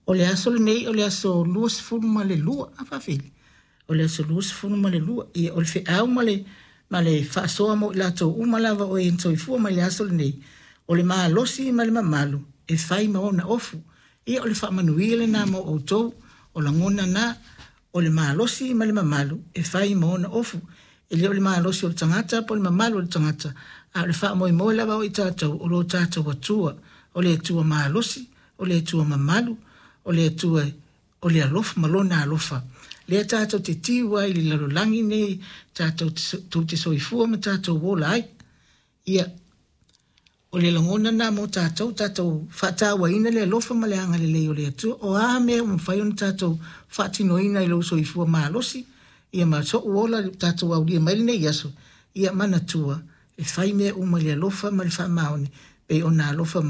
O le aso lenei o le aso 22, a faafili? O le aso 22. Ia, o le feau ma le faasoa mo i latou uma lava o e soifua mai le aso lenei, o le malosi ma le mamalu e fai ma ona ofu. Ia, o le faamanuia lena mo outou, o lagona na, o le malosi ma le mamalu e fai ma ona ofu. E le o le malosi o le tagata po o le mamalu o le tagata, a o le faamoemoe lava o i tatou o lo tatou Atua, o le Atua malosi, o le Atua mamalu, o le Atua o le alofa ma lona alofa. Lea tatou te tiu ai i le lalolagi nei, tatou te soifua ma tatou ola ai. Ia, o le lagona lena mo tatou, tatou faatauaina le alofa ma le agalelei o le Atua. O a mea ua mafai ona tatou faatinoina i lou soifua malosi, ia ma so'u ola tatou aulia mai lenei aso, ia manatua, e fai mea uma i le alofa ma le faamaoni, pei ona alofa